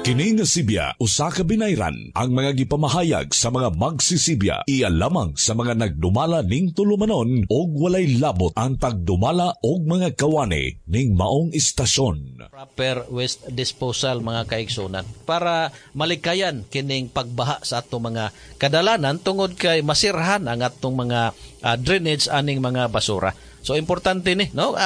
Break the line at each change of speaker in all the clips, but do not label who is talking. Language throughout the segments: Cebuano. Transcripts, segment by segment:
Kini nga Sibya usa ka binayran ang mga gipamahayag sa mga magsisibya, iya lamang sa mga nagdumala ning tulumanon og walay labot ang tagdumala og mga kawani ning maong istasyon.
Proper waste disposal, mga kaigsunan, para malikayan kining pagbaha sa atong mga kadalanan tungod kay masirhan ang atong mga drainage aning mga basura. So importante ni, no?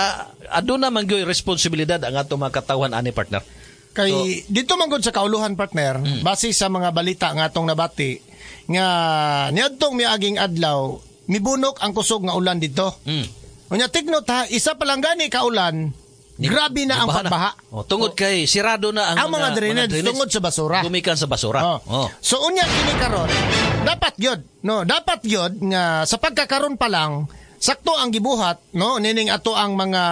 Aduna man gyud responsibilidad ang atong mga katawhan ani, partner.
Kay dito man gud sa kauluhan, partner, base sa mga balita nga atong nabati nga niadtong miaging adlaw, mibunok ang kusog nga ulan dito. Unya take note ha, isa pa lang gani ka ulan, grabe na ang
Baha na.
Pagbaha.
Oh, tungod kay sirado na ang
Ang mga drainage tungod sa basura.
Gumikan sa basura.
Oh. So unya kini karon, dapat gyud, no, dapat gyud nga sa pagkakaron pa lang sakto ang gibuhat, no, nining ato ang mga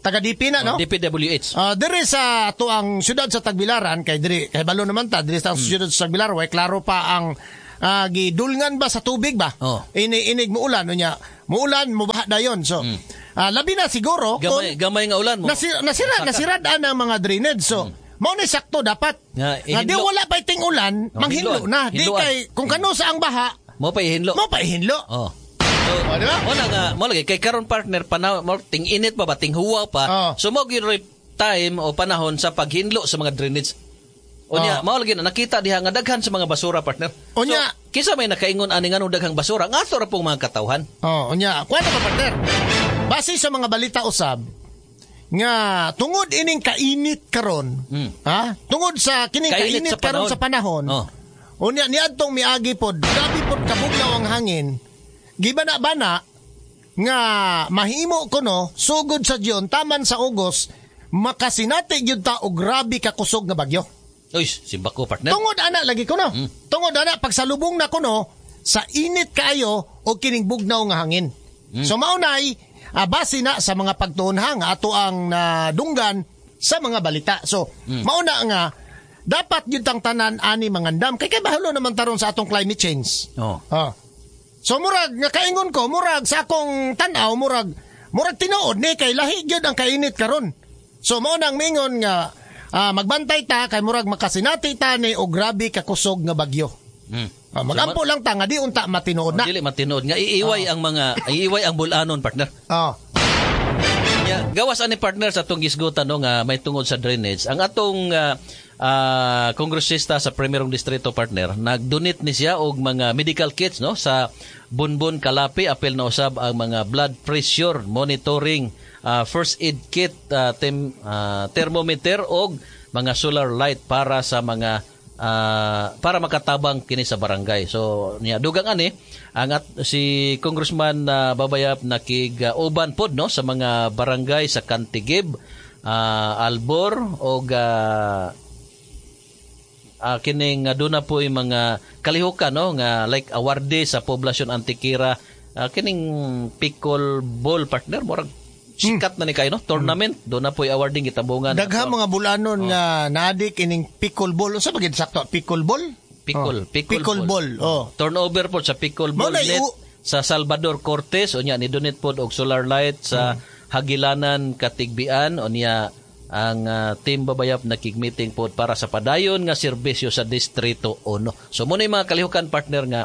taga-DP na, no?
DPWH.
Diri sa ato ang syudad sa Tagbilaran, kay diri kay balo naman ta diri sa syudad sa Tagbilaran, way klaro pa ang gidulngan ba sa tubig ba. Ini inig muulan, unya muulan, mubaha dayon. So labi na siguro
Gamay, gamay nga ulan mo.
Nasira
Saka.
nasirad ang mga drainage. So mao ni sakto dapat
Nga,
nga di
ihinlo.
wala pa iting ulan,
Oh,
manghinlo
hinloan.
na. Di
Hinloan.
kay kung kano sa ang baha,
Mo pa ihinlo.
mo pa ihinlo.
Oh. So,
Oh, di ba?
mo na nga, mo lagi kay karon, partner, panahon mo ting init pa ba, ting huwa pa.
Oh.
So mo gyud ro'y time o panahon sa paghinlo sa mga drainage. Unya,
Oh.
mao lagi na nakita diha nga daghan sa mga basura, partner.
Unya.
So, kinsa may nakaingon ani nganong daghang basura? Nga ato ra pong mga katawhan.
Oh, unya, kuha na pa, partner. Base sa mga balita usab nga tungod ining kainit karon, ha? Tungod sa kining
Kainit
kainit
sa
karon
panahon.
sa panahon.
Oh.
Unya niadtong miagi pod, grabe pod kabugnaw ang hangin. Gibana-bana nga mahimo kuno sugod sa June taman sa August makasinati gyud ta og grabe ka kusog nga bagyo.
Uy, simbako, partner.
Tungod ana lagi kuno. Tungod ana pagsalubong na kuno sa init kaayo o kining bugnaw nga hangin. So maunay base na sa mga pagtuonha nga ato ang nadunggan sa mga balita. So mauna nga dapat gyud tang tanan ani mangandam kay bahalo naman taron sa atong climate change.
Oh.
Ah. So murag nga kaingon ko, murag sa akong tan-aw, murag murag tinuod ni kay lahi gyud ang kainit karon. So mao nang mingon nga magbantay ta kay murag makasinati ta ni og grabe ka kusog nga bagyo. Magampo lang ta nga di unta matinuod na.
Dili matinuod nga iiway ang mga iiway ang bulanon, partner. Nya, gawas ani, partner, sa atong gisgutan, no, nga may tungod sa drainage. Ang atong kongresista sa primerong distrito, partner, nagdonate ni siya og mga medical kits, no, sa Bunbun Kalapi, apil na usab ang mga blood pressure monitoring, first aid kit, thermometer og mga solar light para sa mga para makatabang kini sa barangay. So niya dugang ani ang at, si Congressman Babayap nakig uban pod, no, sa mga barangay sa Kantigib, Albor og kining aduna po yung mga kalihukan, no, nga like awardee sa poblasyon Antikira, kining pickle ball, partner, murag sikat na ni kayo, no, tournament, do na po awarding gitabungan.
Daghang mga bulanon nga naadik ining pickleball. Unsa ba gid sakto? Pickleball?
Pickle,
Oh.
pickle,
Pickleball. Oh.
Turnover po sa pickleball
Mao na
net sa Salvador Cortez. Unya ni donate pod og solar light sa Hagilanan Katigbian. Unya ang team Babayap nakig-meeting pod para sa padayon nga serbisyo sa Distrito 1. So mo na yung mga kalihukan, partner, nga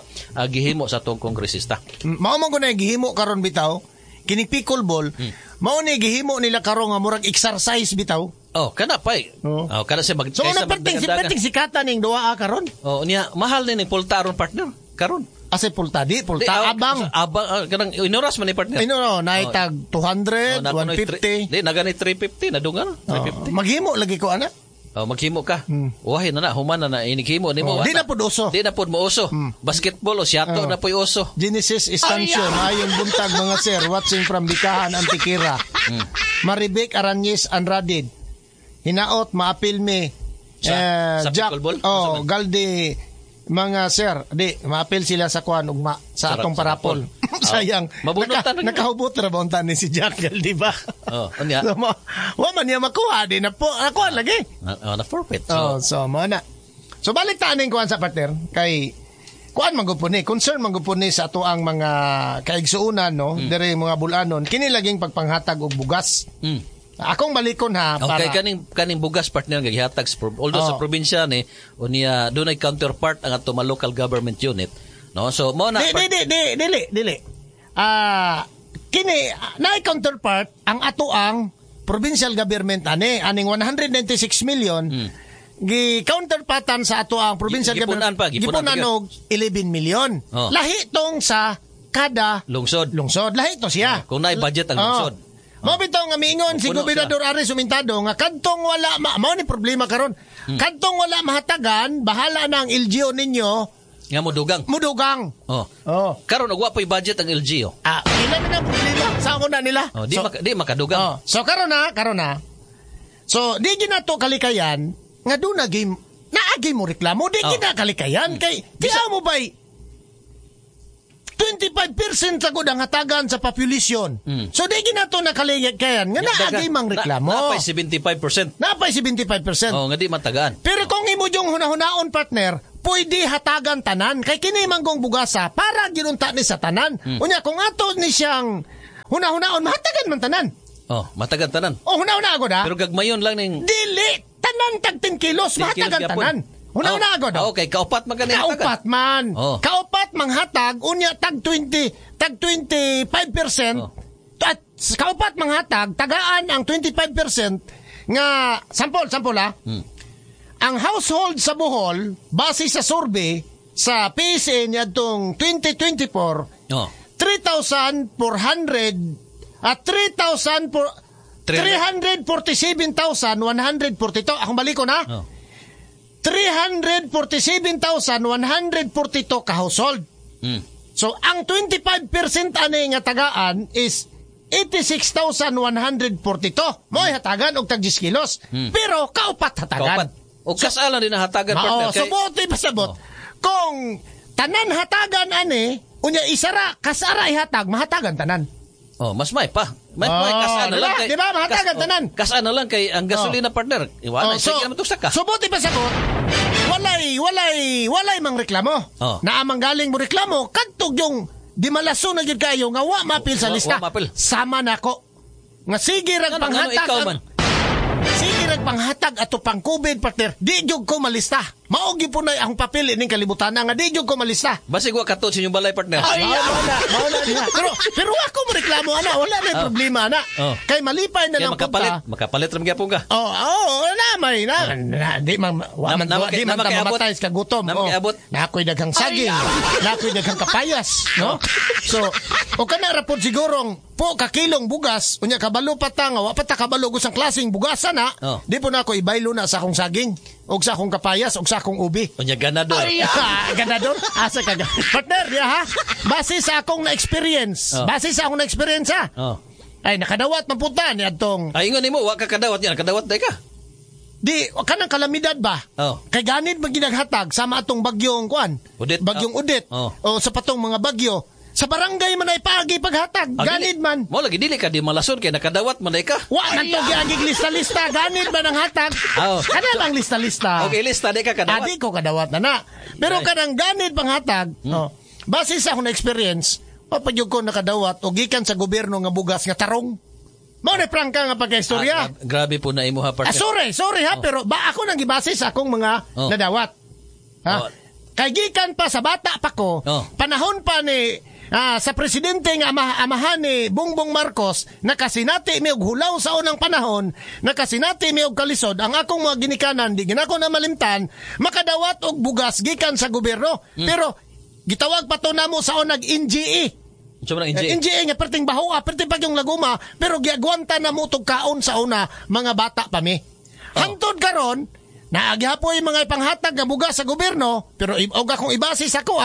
gihimo sa atong kongresista.
Mao man ko na gihimo karon bitaw kining pickleball, mao ni gihimo nila karon nga murag exercise bitaw.
Oh, kana pa eh.
Oo.
Oh, kana siya mag
So
kaysa
una perting si
magdagan-dagan.
perting sikata ning duwa karon.
Oh, niya mahal ni ning pulta aron, partner, karon.
Ase pulta di pulta
Di,
abang.
Abang, kanang inoras man ni, partner.
Ay no no, naitag 200,
Oh, nakunoy
150.
Di nagani 350 na dungan, 350.
Oh, maghimo lagi ko ana.
Oh, maghimo ka. Wahi na na, human na na inighimo nimo.
Oh, di na pud uso.
Di na pud mo uso. Basketball o siyato na po'y uso.
Genesis Estancion, ayon buntag mga sir, watching from Bikahan, Antikira. Maribek Aranyes Anradid. Hinaot maapil mi.
Sa
Jack,
pickleball?
Oh, Galdi, mga sir, di maapil sila sa kuan ugma sa
Sa
atong
sa
parapol.
rapol.
Sayang.
Mabunutan na gyud.
Nakahubot ra ba unta ni si Jack Galdi ba?
Oh, unya.
So, wa man niya makuha di na po. Nakuha lagi.
Na, oh, na forfeit. So,
Oh, so mo na. So balik ta aning kuan sa partner kay kuan man gud po ni, concern man gud po ni sa ato ang mga kaigsuonan, no, diri mga bulanon kini laging pagpanghatag og bugas. Akong balikon ha para
Okay, kaning bugas, partner, nga gihatag sa although sa probinsya ni unya dunay counterpart ang ato mga local government unit, no? So mao na
Di di di di dili dili. Kini naay counterpart ang ato ang provincial government ani aning 196 million. Gi counterpartan sa ato ang provincial
Gipunan
government
pa, gipunan
gipunan og 11 million. Lahi tong sa kada
lungsod.
Lungsod lahi to siya.
Kung naay budget ang lungsod.
Mao bitaw nga miingon si
Puno
Gobernador Aris Sumintado nga kadtong wala mao ni problema karon. Kadtong wala mahatagan, bahala na ang LGU ninyo
nga modugang.
Mudugang.
Oh.
Oh.
Karon og wa pa'y budget ang LGU.
Ilan na ang problema sa ako na nila.
Oh, di
So,
di makadugang.
Oh, so karon na. So di ginato kalikayan nga doon naagi mo reklamo, di gina kalikayan kay di mo bay 25% sa gud ang hatagan sa population. So di ginato na kalikayan nga naagi mang reklamo.
Napay 75%.
Napay 75%.
Oh, nga di matagaan.
Pero kung imo yung hunahunaon, partner, pwede hatagan tanan kay kini manggong bugasa para ginunta ni sa tanan. Unya kung ato ni siyang hunahunaon, mahatagan man tanan.
Oh, matagan tanan.
O hunahuna agad ha.
Pero gagmayon lang ning
Dili tanan tag 10 kilos,
10 kilos
mahatagan
gyapon.
tanan. Hunahuna agad.
Okay, kaupat man gani hatagan.
Kaupat man.
Oh.
Kaupat manghatag unya tag 20, tag 25%.
Oh.
At kaupat manghatag tagaan ang 25% nga sample ha. Ang household sa Bohol base sa survey sa PSA niadtong 2024, 3,400 at 347,142. Akong balik ko na. 347,142 ka household. So ang 25% ani nga tagaan is 86,142. Mo'y hatagan og tag 10 kilos. Pero kaupat hatagan.
Kaupat. O kasala din na hatagan, partner.
So buti pasabot. Kung tanan hatagan ani, unya isara kasara ihatag, mahatagan tanan.
Oh, mas may pa. May kasana
diba?
lang kay.
Diba? Mahatagan tanan.
Kasana lang kay ang gasolina, partner. Iwanan, sige naman tugsak ka.
So buti pasabot. Walay mang reklamo. Naamang galing mo reklamo kadtog yung di malaso na gyud kayo nga wa mapil sa lista.
Wa mapil.
Sama nako. Nga sige rag panghatag.
Ikaw man.
Sige rag panghatag ato pang COVID, partner. Di gyud ko malista. Mao gyud po na akong papel ining kalibutan nga di gyud ko malista.
Basig wa kato sa inyong balay, partner.
Ay, mao na diha. Pero ako mo reklamo ana, wala na problema ana. Kay malipay na lang
punta. Makapalit ra gyapon ka.
Oh, na may na, di man wa man di man mamatay sa gutom. Na ako'y daghang saging, na ako'y daghang kapayas, no? So, o kana ra pod sigurong po kakilong bugas, unya kabalo pa ta nga wa pa ta kabalo og usang klaseng bugasa na. Di po na ako ibaylo na sa akong saging og sa akong kapayas og sa akong ubi.
Unya ganador.
Ganador? Asa ka? Partner, ya ha? Base sa akong na-experience. Base sa akong na-experience ha. Ay nakadawat man punta ni adtong.
Ay ingon nimo wa ka kadawat niya, nakadawat day ka.
Di kanang kalamidad ba? Kay ganid man ginaghatag sama atong bagyong kuan.
Udit.
Bagyong Udit. O sa patong mga bagyo. Sa barangay man ay paagi paghatag, ganid man.
Mo lagi dili ka di malason kay nakadawat man ay ka.
Wa man to giagig lista-lista, ganid man ang hatag. Kana bang lista-lista?
Okay, lista di ka kadawat.
Adi ko kadawat na. Pero kanang ganid panghatag, base sa akong experience, papagyog ko nakadawat og gikan sa gobyerno nga bugas nga tarong. Mao ni prangka nga pagkaistorya.
Grabe po na imo ha, partner.
Sorry ha, pero ba ako nang gibase sa akong mga nadawat. Ha? Kay gikan pa sa bata pa ko, panahon pa ni sa presidente nga amahan ni Bongbong Marcos, nakasinati mi og hulaw sa unang panahon, nakasinati mi og kalisod, ang akong mga ginikanan, di ginako na malimtan, makadawat og bugas gikan sa gobyerno. Pero gitawag pa to namo sa unag NGE.
NGE?
NGE nga perting bahoa, perting pagyong laguma, pero giagwanta na mo tog kaon sa una mga bata pa mi. Hangtod karon, naagyapoy mga ipanghatag nga bugas sa gobyerno, pero og akong ibase sa ko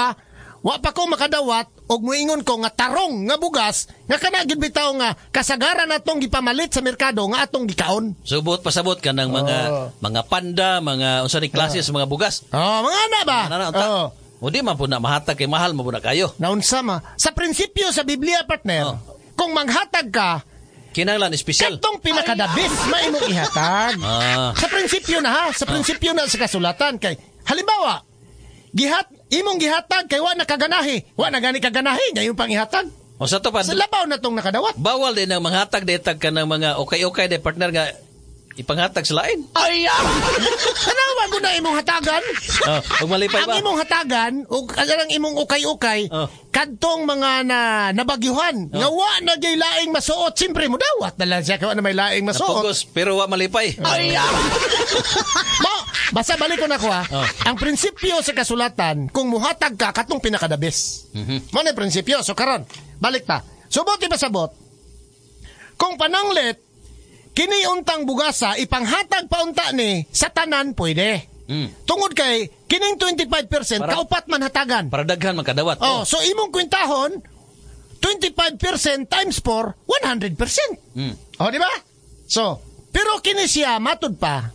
wa pa ko makadawat og moingon ko nga tarong nga bugas nga kana gid bitaw nga kasagaran atong gipamalit sa merkado nga atong gikaon.
Subot pasabot ka ng mga panda, mga unsa ni klase sa mga bugas.
Mga ana ba?
O di man po na mahatag kay mahal man po na kayo.
Naunsa ma? Sa prinsipyo sa Biblia, partner, kung manghatag ka,
kinahanglan espesyal.
Katong pinakadabis maimong ihatag. Sa prinsipyo na ha, sa prinsipyo na sa kasulatan kay halimbawa, imong gihatag kay wa na kaganahi. Wa na gani kaganahi, ngayon pang ihatag.
O sa to pa,
Sa labaw na tong nakadawat.
Bawal din ang manghatag detag ka ng mga okay-okay de partner nga ipanghatag sa lain.
Ay! Tanawa ko na imong hatagan.
Oh, ug malipay
Ang
ba?
imong hatagan ug ang imong ukay-ukay kadtong mga na nabagyuhan nga wa na gyud laing masuot, siyempre mo dawat na lang siya kay wa na may laing masuot.
Napugos, pero wa malipay.
Ay! Mo, basta balik ko na ko ha.
Oh.
Ang prinsipyo sa kasulatan, kung muhatag ka katong pinakadabis. Mo na yung prinsipyo. So karon, balik ta. Subot ipasabot. Kung pananglit kini untang bugasa ipanghatag pa unta ni sa tanan pwede. Tungod kay kining 25% kaupat man hatagan.
Para daghan man kadawat.
Oh, so imong kwentahon 25% times 4, 100%. Oh, di ba? So, pero kini siya matud pa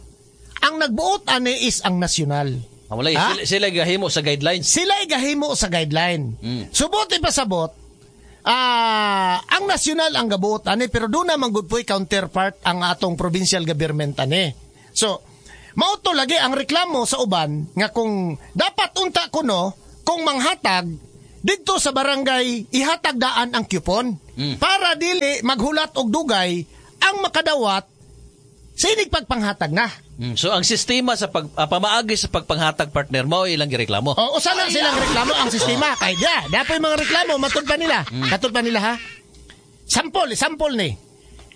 ang nagbuot ani is ang nasyonal.
Ah, wala,
Ha?
sila gahimo sa guidelines.
Sila gahimo sa guideline. Subot ipasabot, ang nasyonal ang gabuot ani pero doon naman good po'y counterpart ang atong provincial government ani. So, mao to lagi ang reklamo sa uban nga kung dapat unta kuno kung manghatag didto sa barangay ihatag daan ang coupon para dili maghulat og dugay ang makadawat sa inig pagpanghatag na.
So ang sistema sa pamaagi sa pagpanghatag partner mao ilang gireklamo.
O usa lang silang reklamo ang sistema kay da, dapat yung mga reklamo matud pa nila. Katud pa nila ha. Sample ni.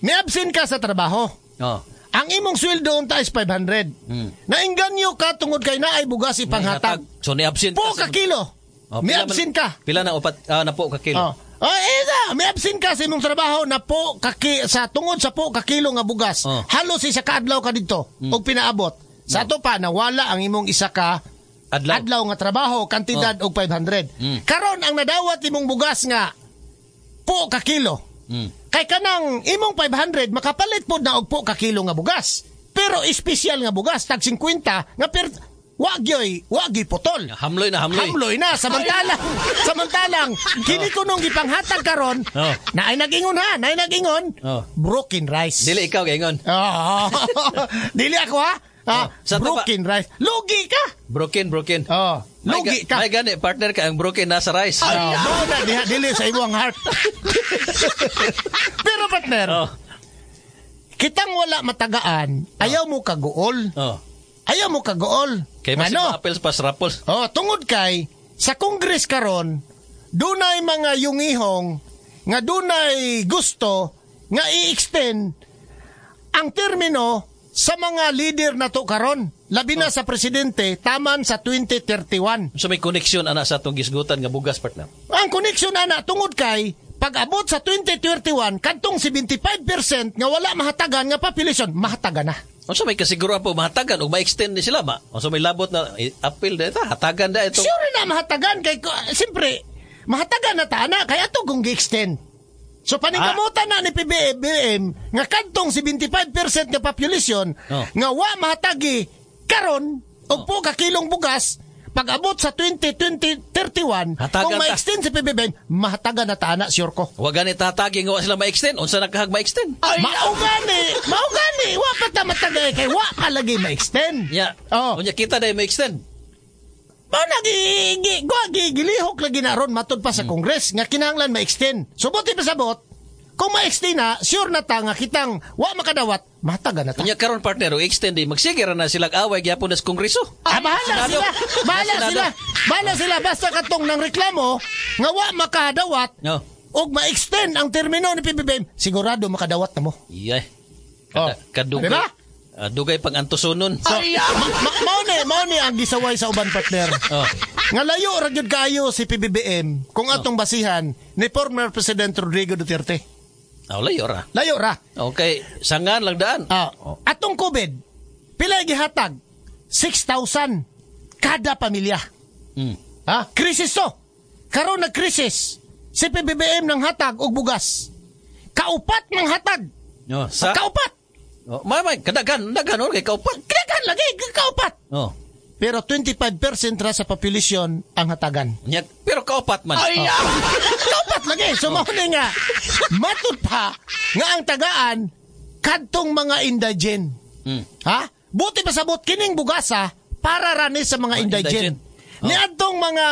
Ni-absent ka sa trabaho.
Oh.
Ang imong sweldo unta is 500. Nainganyo ka tungod kay naay bugas ipanghatag.
So ni-absent
Po ka kilo.
Oh, pila
Ni-absent ka.
Pila na upat na po ka kilo.
Oh. Oh, may absent ka sa imong trabaho na po kaki, sa tungod sa po ka kilo nga bugas.
Oh.
Halos isa ka adlaw ka didto og pinaabot. Sa ato pa nawala ang imong isa ka
Adlaw.
nga trabaho kantidad og 500. Karon ang nadawat imong bugas nga po ka kilo. Kay kanang imong 500 makapalit pod na og po ka kilo nga bugas. Pero espesyal nga bugas tag 50 nga per wa gyoy putol.
Hamloy na hamloy.
Hamloy na samantalang kini ko nung gipanghatag karon
Oh.
naay nag-ingon ha, naay nag-ingon.
Oh.
Broken rice.
Dili ikaw gaingon.
Oo. Dili ako ha.
Oh. Sa to ba-
broken rice. Lugi ka.
Broken.
Oh, lugi ka.
May gani partner ka ang broken nasa rice.
Oh, mao na diha dili sa imong heart. Pero partner,
Oh.
kitang wala matagaan, ayaw mo kaguol.
Oh.
Ayaw mo kaguol.
Kay mas
Ano?
apples pas rapples.
Oh, tungod kay sa Congress karon dunay mga yungihong nga dunay gusto nga i-extend ang termino sa mga leader nato karon. Labi na sa presidente taman sa 2031.
So may connection ana sa atong gisgutan nga bugas partner.
Ang connection ana tungod kay pag-abot sa 2031 kadtong 75% nga wala mahatagan nga population mahatagan na.
Unsa may kasiguruhan po mahatagan og ma-extend ni sila ba? Unsa may labot na appeal da ito, hatagan da ito.
Sure na mahatagan kay siyempre mahatagan na ta ana kay ato kung gi-extend. So paningkamutan na ni PBBM nga kadtong 75% nga population nga wa mahatagi karon og po ka kilong bugas pag abot sa 2031
Hatagan
kung
ta.
ma-extend si PBBM mahatagan na ta ana sure ko.
Wa gani tatagi nga wa sila ma-extend. Unsa nakahag ma-extend?
Mao gani wa pa ta matagay kay wa pa lagi ma-extend.
Ya.
Oh.
Unya kita dai ma-extend.
Mao na gilihok lagi na ron matud pa sa Congress nga kinahanglan ma-extend. So buti pa sabot, kung ma-extend na, sure na ta nga kitang wa makadawat, mahatagan na ta.
Unya karon partner og extend di magsige ra na sila away gyapon na sa kongreso.
Ah, bahala
Senado.
sila. Bahala
Senado.
sila. Bahala sila basta katong nang reklamo nga wa makadawat
No.
og ma-extend ang termino ni PBBM, sigurado makadawat na mo.
Iyay.
Oh.
Kadugay.
Diba?
Dugay pang antusunon.
So, mao ni ang gisaway sa uban partner.
Oh.
Nga layo ra gyud kaayo si PBBM kung atong basihan ni former President Rodrigo Duterte.
Ah, layo ra.
Layo ra.
Okay, sangan lang daan.
Atong COVID, pila gihatag? 6,000 kada pamilya. Ha? Krisis to. Karon nagkrisis. Si PBBM ng hatag og bugas. Kaupat ng hatag.
Oh, sa
Kaupat.
Oh, may kadaghan, daghan or kay kaupat.
Kadaghan lagi kaupat.
Oh.
Pero 25% ra sa populasyon ang hatagan.
Nya, pero kaupat man.
Ay, kaupat lagi. So mao ni nga matud pa nga ang tagaan kadtong mga indigent.
Mm.
Ha? Buti pa sabot kining bugasa para rani sa mga indigent.
Indigent.
Niadtong mga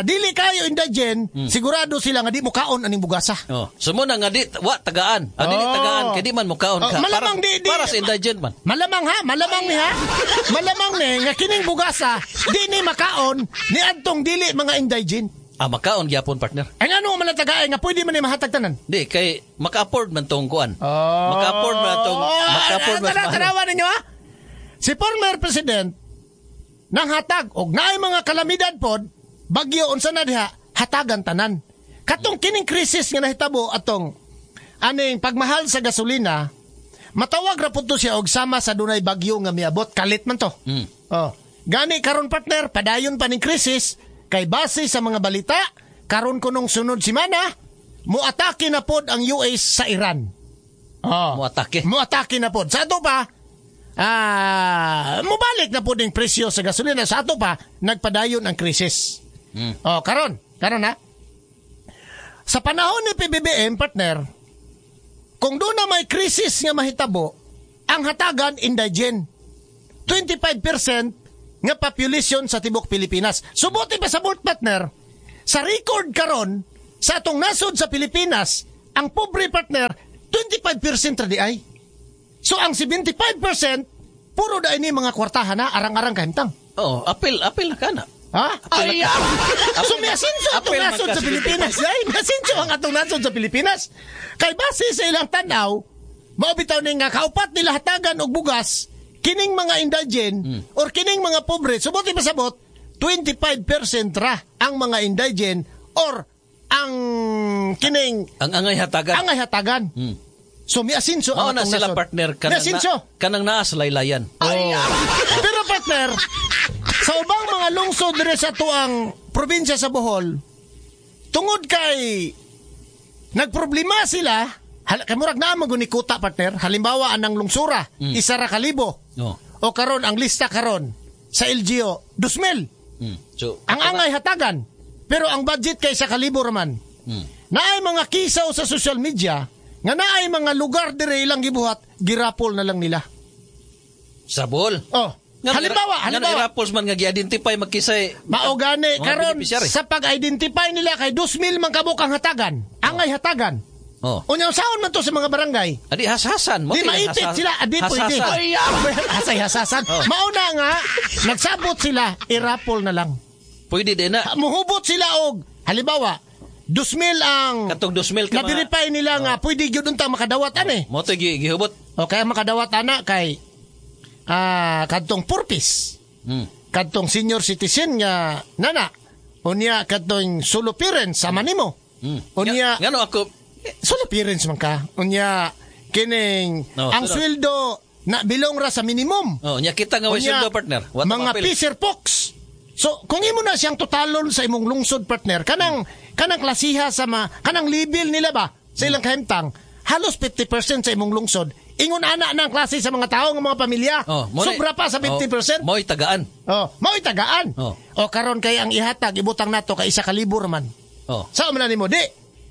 dili kayo indigent, sigurado sila nga di mo kaon aning bugasa.
Oh, so mo na nga di wa tagaan. Ah, dili tagaan kay di man mukaon
Oh,
ka.
malamang
para,
di
para sa indigent man.
Malamang ha, malamang ni ha. Malamang ni nga kining bugasa di ni makaon niadtong dili mga indigent.
Ah, makaon gyapon, partner.
Ay ngano man ang tagaay nga pwede man ni mahatag tanan.
Di kay maka-afford man tong kuan.
Oh.
Maka-afford man tong maka-afford man.
Tara, tanawa ninyo ha. Si former president nang hatag og naay mga kalamidad pod, bagyo unsa na diha, hatagan tanan. Katong kining krisis nga nahitabo atong aning pagmahal sa gasolina, matawag ra pud to siya og sama sa dunay bagyo nga miabot, kalit man to. Oh. Gani karon, partner, padayon pa ning krisis kay base sa mga balita, karon kunong sunod semana, moatake na pod ang US sa Iran. Oh.
Moatake.
Moatake na pod. Sa ato pa, mobalik na pod ang presyo sa gasolina. Sa ato pa, nagpadayon ang krisis. Oh, karon, karon ha. Sa panahon ni PBBM, partner, kung doon na may krisis nga mahitabo, ang hatagan indigent. 25% nga population sa tibok Pilipinas. Subuti pa sa board, partner, sa record karon sa atong nasod sa Pilipinas, ang pobre, partner, 25% ra di ay. So ang 75% puro dai ni mga kwartahan na arang-arang kahimtang.
Oh, apil apil na kana.
Ha?
Ay,
So miasinso atong
Apil man
nasod
ka
sa Pilipinas. Ay, miasinso ang atong nasod sa Pilipinas. Kay base sa ilang tanaw, mao bitaw ni nga kaupat nila hatagan og bugas kining mga indigent or kining mga pobre. Subuti pasabot, 25% ra ang mga indigent or ang kining
Ang angay hatagan.
angay hatagan. So miasinso
Mao
ang
na
atong
sila
nasod.
partner kanang
Miasinso.
na, kanang naa sa laylayan.
Pero partner, sa ubang mga lungsod diri sa tuang probinsya sa Bohol, tungod kay nagproblema sila, kay murag naa man guni kuta, partner, halimbawa anang lungsura, 1,000.
Oh.
O karon ang lista karon sa LGU, 2,000.
So,
Ang angay hatagan, pero ang budget kay 1,000 raman. Naay mga kisaw sa social media nga naay mga lugar dire ilang gibuhat, girapol na lang nila.
Sa Bohol.
Oh, halimbawa,
Nga
halimbawa,
irapols man nga gi-identify magkisay.
Mao gani
Mga
karon
beneficiary.
sa pag-identify nila kay 2,000 man kabuk ang hatagan, angay hatagan.
Oh.
Unya usaon man to sa mga barangay.
Adi hashasan mo.
Di maipit sila, adi pwede. Hasay hasasan.
Oh.
Mao na nga nagsabot sila, irapol na lang.
Pwede din na.
Muhubot sila og halimbawa 2,000 ang
Katong 2,000 ka mga-
na-verify nila nga pwede gyud unta makadawat ani.
Mo to gihubot.
O kaya makadawat ana kay kadtong purpose. Kadtong senior citizen nga nana. Unya kadtong solo parents sama nimo. Unya
Ngano ako
solo parents man ka. Unya kining
No,
ang
sunod.
sweldo na bilong ra sa minimum.
Oh, nya kita nga way
Unya,
sweldo, partner. Wa ta
mga
mapil.
fisher folks. So, kung imo na siyang totalon sa imong lungsod, partner, kanang kanang klasiha sa ma, kanang level nila ba sa ilang kahimtang, halos 50% sa imong lungsod. Ingon ana na ang klase sa mga tao nga mga pamilya.
Oh, mo ni-
Sobra pa sa 50%.
Oh, mo'y tagaan.
Oh, mao'y tagaan.
Oh.
O karon kay ang ihatag ibutang nato kay 1,000 man.
Oh,
Sa man na nimo di.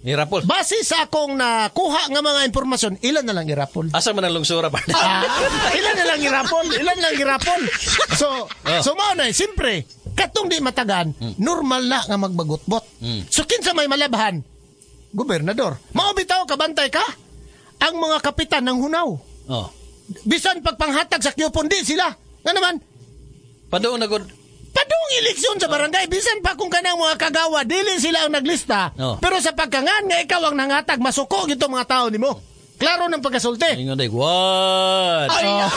irapol.
Base sa akong nakuha nga mga impormasyon, ilan na lang irapol?
Asa man ang lungsura, partner?
Ah, ilan na lang irapol, ilan lang irapol. So,
Oh.
so mao na, eh, siyempre, katong di matagan, normal na nga magbagutbot. So kinsa may malabhan? Gobernador. Mao bitaw kabantay ka? Ang mga kapitan ng hunaw.
Oh.
Bisan pagpanghatag sa coupon di sila. Nga naman,
Paduong na gud.
padung eleksyon sa barangay, bisan pa kung kanang mga kagawa, dili sila ang naglista.
Oh.
Pero sa pagkangan nga ikaw ang nangatag, masuko gito mga tao nimo. Klaro ng pagkasulti.
Ingon day, what?
Oh.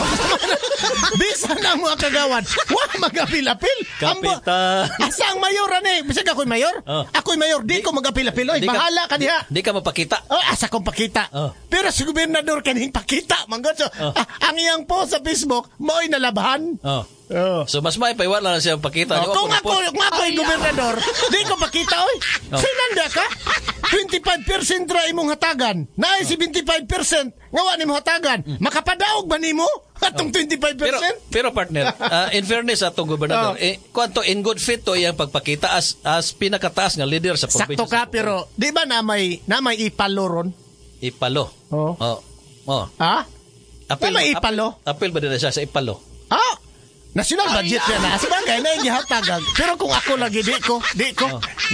Bisan ang mga kagawad, wa magapil-apil.
Kapitan.
Asa ang mayor ani? Bisag ako'y mayor.
Oh.
Ako'y mayor, di ko magapil-apil. Oy,
Di ka-
bahala ka diha.
Di ka mapakita.
Oh, asa kong pakita.
Oh.
Pero si gobernador kaning pakita, manggod. So,
Oh.
ang iyang post sa Facebook, mao'y nalabahan.
Oh.
Oh.
So mas may paiwala na siya pakita.
Oh, kung ako, kung ako yung gobernador, di ko pakita, oy.
Oh.
Sinanda ka? 25% ra imong hatagan. Naay 75% nga wa nimo hatagan. Makapadaog ba nimo atong 25%?
Pero pero partner, in fairness sa atong gobernador,
Oh.
eh kwanto in good fit to iyang pagpakita as pinakataas nga leader sa probinsya.
Sakto ka
sa Bohol.
pero di ba na may ipalo ron?
Ipalo.
Oh.
Oh. Oh.
Ha?
Apil,
Na may ipalo?
Apil ba din siya sa ipalo?
Ah, National budget yan na. Sabagay na gihatag. Pero kung ako lagi di ko.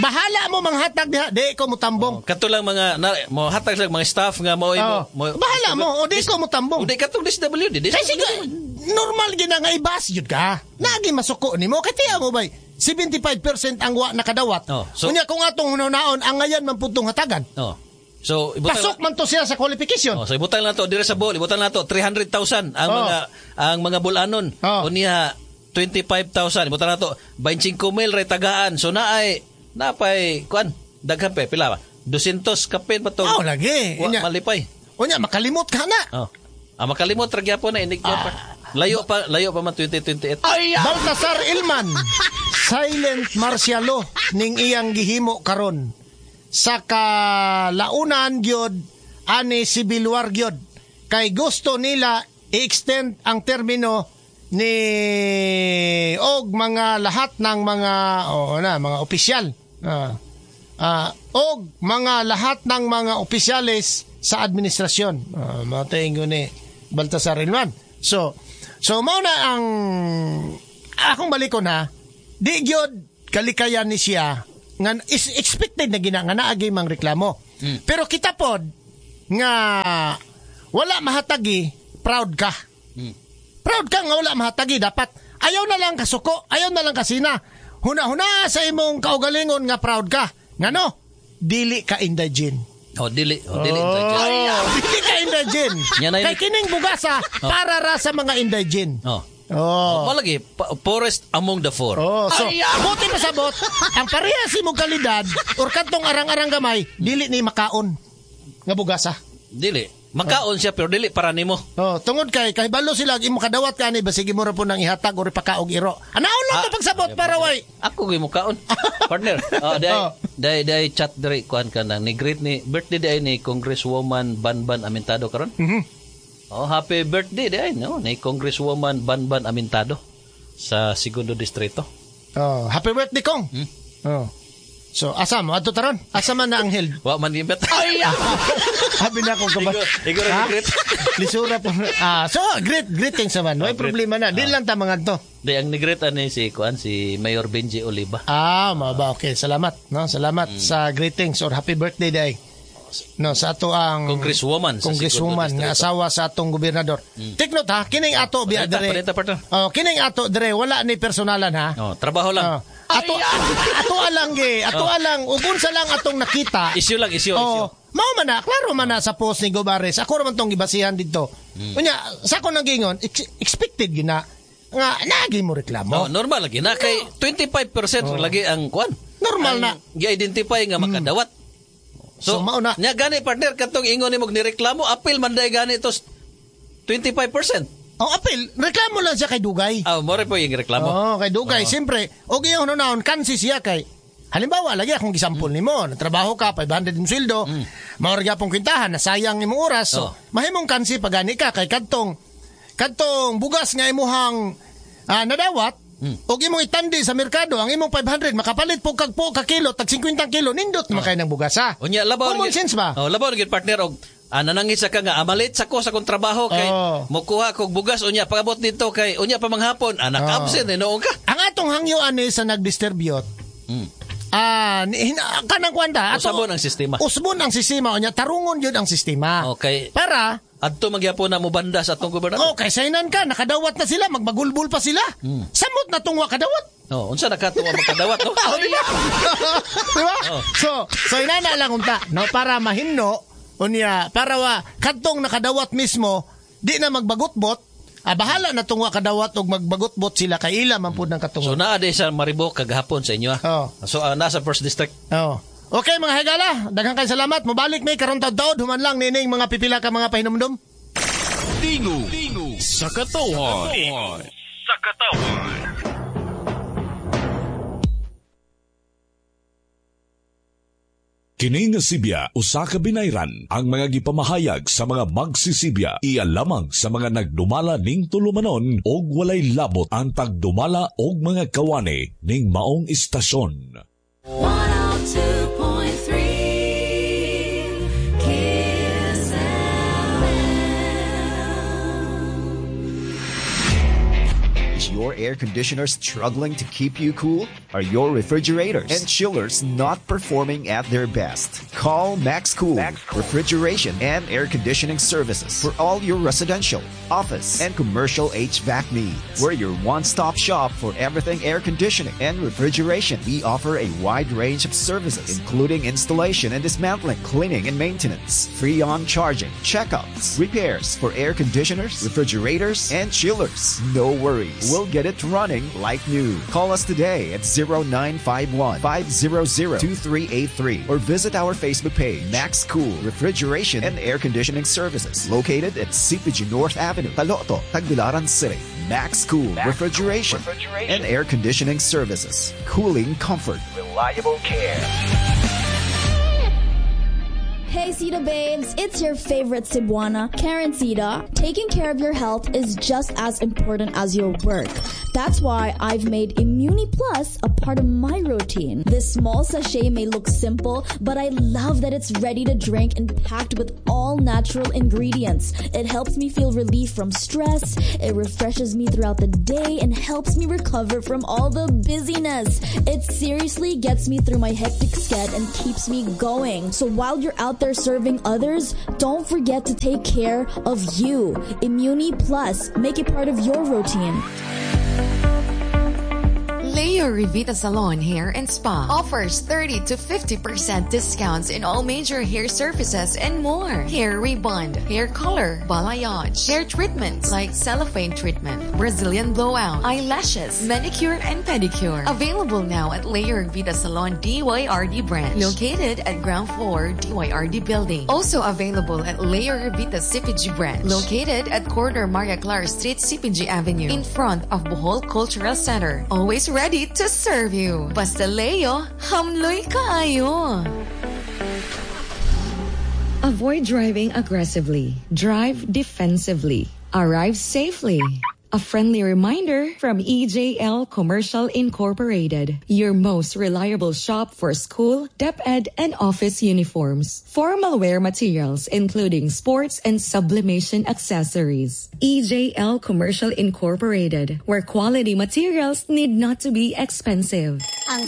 Bahala mo manghatag diha, di ko mutambong.
Kato lang mga mo hatag lang mga staff nga mo,
bahala mo, o di ko mutambong.
Di katong DSWD,
Kasi normal gina nga ibas jud ka. Nagi masuko nimo kay tiya mo bay 75% ang wa nakadawat.
Oh, so,
unya kung atong hunaon ang ngayon man putong hatagan.
Oh. So ibutang,
pasok man to siya sa qualification.
Oh, so ibutang na to dire sa bol, ibutang na to 300,000 ang mga ang mga bulanon. Oh. Unya 25,000, ibutang na to 25,000 ray tagaan. So naay napay kuan daghan pa pila ba? 200 kapin pa to.
Oh, lagi.
Unya malipay.
Unya makalimot ka na.
Oh. Ah, makalimot ra gyapon na inig pa. Layo pa man 2028.
Ay, Baltasar Ilman, silent martial law ning iyang gihimo karon. Sa kalaunan gyud ani civil war gyud kay gusto nila i-extend ang termino ni og mga lahat ng mga mga opisyal og mga lahat ng mga opisyales sa administrasyon. Mao ni Baltasar Ilman. So mao na ang akong balikon ha, di gyud kalikayan ni siya nga is expected na gina nga naagay mang reklamo. Pero kita pod nga wala mahatagi, proud ka. Proud ka nga wala mahatagi, dapat ayaw na lang kasuko, ayaw na lang kasina. Huna-huna sa imong kaugalingon nga proud ka. Ngano? Dili ka indigent.
Oh, dili indigent.
Dili ka indigent. Kay kining bugasa para ra sa mga indigent.
Oh. Oh. Malagi, poorest among the four.
Oh, so, buti pasabot, ang parehas imong kalidad or kadtong arang-arang gamay, dili ni makaon nga bugasa.
Dili. Makaon siya pero dili para nimo.
Oh, tungod kay kahibalo sila imo kadawat kani basig imo ra po nang ihatag or ipakaog iro. Anaon lang to pagsabot para way.
Ako gyud mo kaon. Partner. Oh, day chat diri kuan ka na ni greet ni birthday day ni Congresswoman Banban Amintado karon.
Mhm.
Oh, happy birthday day no ni Congresswoman Banban Amintado sa Segundo Distrito.
Oh, happy birthday kong. Oh. So, asa mo? Adto taron? Asa man na anghel?
Wa man gibet.
Ay! Habi na akong kabat.
Igor greet.
Lisura po. So, greetings naman. May problema na. Di lang ta mga to.
Di, ang ni-greet ani si kuan si Mayor Benji Oliva.
Ah, maba. Okay, salamat. No, salamat sa greetings or happy birthday day. No, sa ato ang
Congresswoman,
nga asawa sa atong gobernador. Take note ha, kining ato biya dere. Oh, kining ato dere wala ni personalan ha.
Oh, trabaho lang.
Ato ato alang ugon sa lang atong nakita.
Issue lang, issue.
Mao man na, klaro man na sa post ni Gobares. Ako ra man tong gibasihan didto. Unya, sa akong nagingon, expected gyud na nga naagi mo reklamo.
Oh, normal lagi na kay 25% lagi ang kuan.
Normal na
gi-identify nga makadawat. So
mao na.
Nya gani partner katong ingon nimo nireklamo, appeal man day gani to 25%.
Oh, appeal, reklamo lang siya kay Dugay.
Ah, more po yung reklamo.
Oh, kay Dugay, siyempre. Og iyong hunaon kansi siya kay halimbawa lagi akong gisampol nimo, natrabaho ka 500 imong sweldo, mao ra gyapon kwintahan, nasayang imong oras. So, mahimong kansi pagani ka kay kadtong bugas nga imuhang nadawat. Og imong itandi sa merkado ang imong 500 makapalit po kag po ka kilo tag 50 kilo nindot man kay ng bugas ha.
Unya labaw
common sense ba?
Oh, labaw gyud partner og nanangis ka nga amalit sa ko sa akong trabaho kay mokuha kog bugas unya pagabot dito kay unya pa manghapon anak absent noon ka.
Ang atong hangyo ani sa nagdisturbiyot. Kanang kwanta ato
usbon ang sistema.
Usbon ang sistema unya tarungon gyud ang sistema.
Okay.
Para
adto magyapon na mobanda sa atong gobernador.
Okay, saynan ka, nakadawat na sila, magbagulbul pa sila. Samot na tungwa kadawat.
Oh, unsa nakatuwa makadawat no?
Oh, di ba? Di ba?
Oh.
So inana lang unta, no, para mahinno unya, para wa kadtong nakadawat mismo di na magbagutbot. Bahala na tungwa kadawat og magbagutbot sila kay ila man pud ng katungod.
So naa di sa Maribo kagahapon sa inyo.
Oh.
So nasa first district.
Oh. Okay mga higala, daghang kay salamat. Mobalik may karon taud-taud human lang nining mga pipila ka mga pahinumdum.
Tingo sa katawhan. Sa katawhan. Kini nga sibya usa ka binayran ang mga gipamahayag sa mga magsisibya iya lamang sa mga nagdumala ning tulumanon og walay labot ang pagdumala og mga kawani ning maong istasyon.
102.3 Kiss FM.
Your air conditioner struggling to keep you cool? Are your refrigerators and chillers not performing at their best? Call Max Cool Refrigeration and Air Conditioning Services for all your residential, office, and commercial HVAC needs. We're your one-stop shop for everything air conditioning and refrigeration. We offer a wide range of services, including installation and dismantling, cleaning and maintenance, free on charging, checkups, repairs for air conditioners, refrigerators, and chillers. No worries. We'll get it running like new. Call us today at 0951 500 2383 or visit our Facebook page, Max Cool Refrigeration and Air Conditioning Services, located at CPG North Avenue, Taloto, Tagbilaran City. Max Cool Refrigeration and Air Conditioning Services. Cooling comfort. Reliable care.
Hey Sita babes, it's your favorite Cebuana, Karen Sita. Taking care of your health is just as important as your work. That's why I've made Immuni Plus a part of my routine. This small sachet may look simple, but I love that it's ready to drink and packed with all natural ingredients. It helps me feel relief from stress, it refreshes me throughout the day, and helps me recover from all the busyness. It seriously gets me through my hectic schedule and keeps me going. So while you're out there serving others, don't forget to take care of you. Immuni Plus, make it part of your routine.
Leo Revita Salon Hair and Spa offers 30 to 50% discounts in all major hair services and more. Hair rebond, hair color, balayage, hair treatments like cellophane treatment, Brazilian blowout, eyelashes, manicure and pedicure. Available now at Leo Revita Salon DYRD branch, located at ground floor DYRD building. Also available at Leo Revita CPG branch, located at corner Maria Clara Street, CPG Avenue, in front of Bohol Cultural Center. Always ready to serve you. Basta Leo, hamloy kaayo.
Avoid driving aggressively. Drive defensively. Arrive safely. A friendly reminder from EJL Commercial Incorporated, your most reliable shop for school, DepEd, and office uniforms. Formal wear materials, including sports and sublimation accessories. EJL Commercial Incorporated, where quality materials need not to be expensive.
Ang